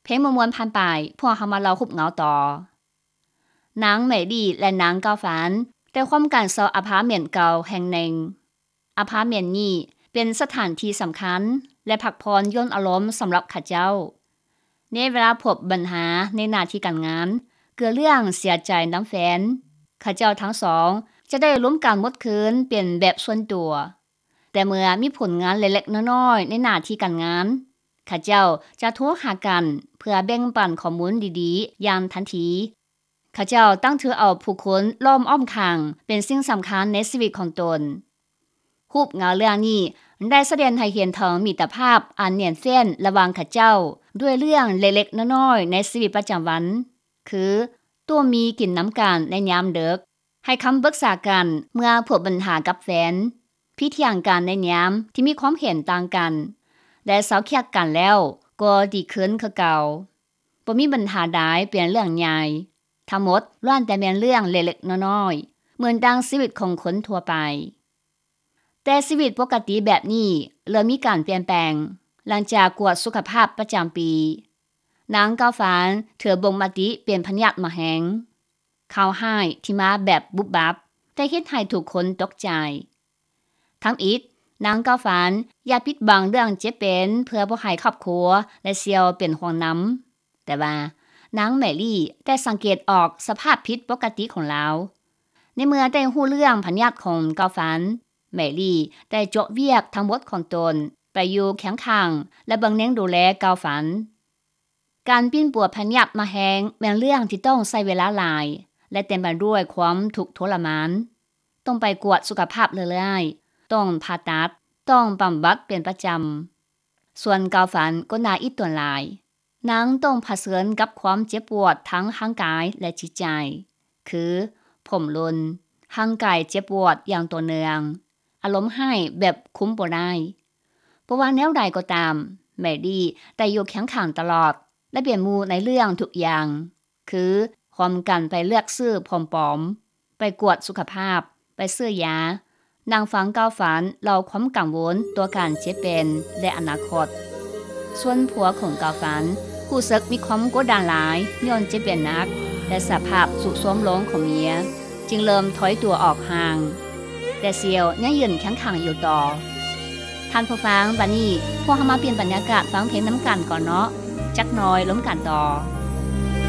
ເພງມ່ວນໆຜ່ານໄປ, ພວກເຮົາມາເລົ່າຮູບເງົາຕໍ່. ນາງແມຣີ ແລະ ນາງກາວຟານ ໄດ້ຮ່ວມກັນເຊົ່າອາພາດເມັນເກົ່າແຫ່ງໜຶ່ງ. ອາພາດເມັນນີ້ເປັນສະຖານທີ່ສຳຄັນ ແລະ ພັກຜ່ອນຢ່ອນອາລົມສຳລັບເຂົາເຈົ້າ. ໃນເວລາພົບບັນຫາໃນໜ້າທີ່ການງານ, ເກີດເລື່ອງເສຍໃຈນຳແຟນ, ເຂົາເຈົ້າທັງສອງຈະໄດ້ລົມກັນໝົດຄືນເປັນແບບສ່ວນຕົວ. ແຕ່ເມື່ອມີຜົນງານເລັກໆນ້ອຍໆໃນໜ້າທີ່ການງານ, ເຂົາເຈົ້າຈະໂທຫາກັນເພື່ອແບ່ງປັນຂໍ້ມູນດີໆຢ່າງທັນທີ. ເຂົາເຈົ້າຕັ້ງຖືເອົາຜູ້ຄົນລ້ອມອ້ອມຂ້າງເປັນສິ່ງສຳຄັນໃນຊີວິດຂອງຕົນ. ຮູບເງົາເລື່ອງນີ້ໄດ້ສະແດງໃຫ້ເຫັນເຖິງມິດຕະພາບອັນໜຽນແຟ້ນລະຫວ່າງເຂົາເຈົ້າ ດ້ວຍເລື່ອງເລັກໆນ້ອຍໆໃນຊີວິດປະຈຳວັນ, ຄື ຕົວະໝີ່ກິນນຳກັນໃນຍາມເດິກ, ໃຫ້ຄຳປຶກສາກັນເມື່ອພົບບັນຫາກັບແຟນ, ພິດຖຽງກັນໃນຍາມທີ່ມີຄວາມເຫັນຕ່າງກັນ ແລະ ເຊົາຄຽດກັນແລ້ວກໍດີຂຶ້ນຄືເກົ່າ. ບໍ່ມີບັນຫາໃດເປັນເລື່ອງໃຫຍ່, ທັງໝົດລ້ວນແຕ່ແມ່ນເລື່ອງເລັກໆນ້ອຍໆ ເໝືອນດັ່ງຊີວິດຂອງຄົນທົ່ວໄປ. ແຕ່ຊີວິດປົກກະຕິແບບນີ້ເລີ່ມມີການປ່ຽນແປງ ຫຼັງຈາກກວດສຸຂະພາບປະຈຳປີ. ນາງກາວຟານຖືບົ່ງມະຕິເປັນພະຍາດໝາກແຮງ. ຂ່າວຮ້າຍທີ່ມາແບບບຸບບັບ ໄດ້ເຮັດໃຫ້ທຸກຄົນຕົກໃຈ. ທຳອິດ, ນາງກາວຟານຢາກປິດບັງເລື່ອງເຈັບເປັນເພື່ອບໍ່ໃຫ້ຄອບຄົວ ແລະ ສ່ຽວເປັນຫ່ວງນຳ. ແຕ່ວ່ານາງແມຣີໄດ້ສັງເກດອອກສະພາບຜິດປົກກະຕິຂອງລາວ. ໃນເມື່ອໄດ້ຮູ້ເລື່ອງພະຍາດຂອງກາວຟານ, ແມຣີໄດ້ໂຈະວຽກທັງໝົດຂອງຕົນໄປຢູ່ຄຽງຂ້າງ ແລະ ເບິ່ງແຍງດູແລກາວຟານ. ການປິ່ນປົວພະຍາດໝາກແຮງແມ່ນເລື່ອງທີ່ຕ້ອງໃຊ້ເວລາຫຼາຍ ແລະ ເຕັມໄປດ້ວຍຄວາມທຸກທໍລະມານ. ຕ້ອງໄປກວດສຸຂະພາບເລື້ອຍໆ, ຕ້ອງຜ່າຕັດ, ຕ້ອງບຳບັດເປັນປະຈຳ. ສ່ວນກາວຟານກໍໜ້າອິດຕົນຫຼາຍ. ນາງຕ້ອງຜະເຊີນກັບຄວາມເຈັບປວດທັງຮ່າງກາຍ ແລະ ຈິດໃຈ, ຄື ຜົມຫຼົ່ນ, ຮ່າງກາຍເຈັບປວດຢ່າງຕໍ່ເນື່ອງ, ອາລົມຮ້າຍແບບຄຸມບໍ່ໄດ້. ບໍ່ວ່າແນວໃດກໍຕາມ, ແມຣີໄດ້ຢູ່ຄຽງຂ້າງຕະຫຼອດ ແລະ ເປັນໝູ່ໃນເລື່ອງທຸກຢ່າງ, ຄື ຮ່ວມກັນໄປເລືອກຊື້ຜົມປອມ, ໄປກວດສຸຂະພາບ, ໄປຊື້ຢາ, ນັ່ງຟັງກາວຟານເລົ່າຄວາມກັງວົນຕໍ່ການເຈັບເປັນ ແລະ ອະນາຄົດ. ສ່ວນຜົວຂອງກາວຟານຮູ້ສຶກມີຄວາມກົດດັນຫຼາຍຍ້ອນເຈັບເປັນໜັກ ແລະ ສະພາບຊຸດໂຊມລົງຂອງເມຍ, ຈຶ່ງເລີ່ມຖອຍຕົວອອກຫ່າງ. ແຕ່ສ່ຽວຍັງຢືນຄຽງຂ້າງຢູ່ຕໍ່. ທ່ານຜູ້ຟັງ, ບັດນີ້ພວກເຮົາມາປ່ຽນບັນຍາກາດຟັງເພງນຳກັນກ່ອນເນາະ, ຈັກໜ່ອຍລົມກັນຕໍ່.